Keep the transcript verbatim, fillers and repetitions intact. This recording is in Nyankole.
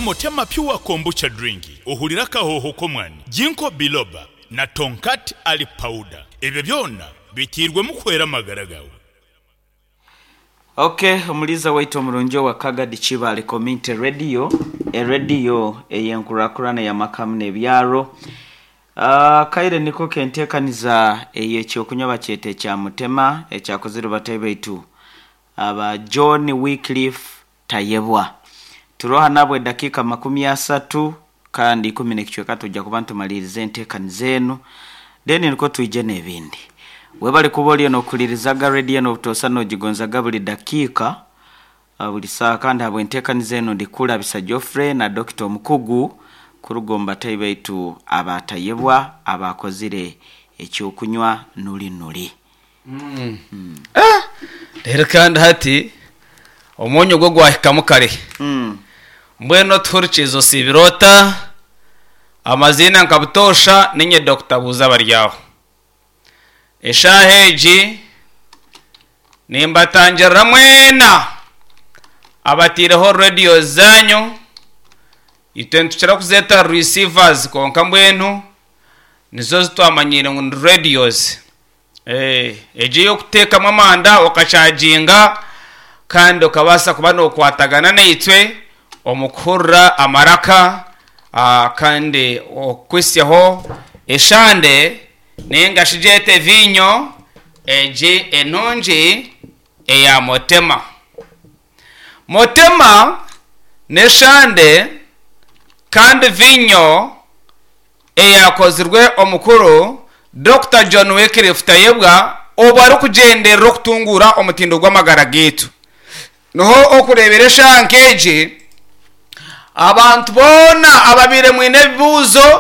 Mutema Pure Kombucha Drink ohurire akahooho k'omwani, Ginkgo Biloba na Tongkat Ali Powder. Ebyo byona biteirwemu kuhwera amagara gaawe. Ok, omuliiza waitu omurungi owa Kagadi Kibaale Community Radio, erediyo ey'enkurakurana ey'amaka hamwe n'ebyaro. Ah, kaire niko kenteekaniza ey'ekyokunywa bakyeta ekya Mutema ekyakozirwe batahi baitu aba John Wycliffe Tayebwa. Turoha nabwe edakiika makumi asatu kandi ikumi n'ekicweka tujja kuba nitumaliriza enteekaniza enu then nikwo twije n'ebindi. Webale kuba oriyo nokuhulirizaga rediyo enu obutoosa nogigonzaga buli dakiika ah, buli saaha kandi habw'enteekaniza enu ndikurabisa Geoffrey na Dokita omukugu kuruga omu batahi baitu abatayebwa abakozire ekyokunywa nuri nuri. Reero kandi hati omwonyo gwo gwahikamu kare. Mm. Mbwenu otuhurikiize osiibire ota? Amaziina nka butoosha niinye Dokita Buuza Baryaho. Eshaaha egi nimbatangirira mwena abataireho radiyo zaanyu. Itwe nitukira kuzeeta receivers kwonka mbwenu nizo zitwamanyiire ngu ni radios. Eh, egi ey'okuteekamu amanda okacaginga kandi okabaasa kuba nookwatagana naitwe omu kuhurira amaraka ah, kandi okwisyaho eshande ninga shi gyete viinyo egi enungi eya Mutema. Mutema n'eshande kandi viinyo eyakozirwe omukuru Dokita John Wycliffe Tayebwa obu arikugyenderera okutunguura omutindo gw'amagara gaitu. Niho okureebera eshaaha nk'egi abantu boona ababaire mwine ebibuuzo.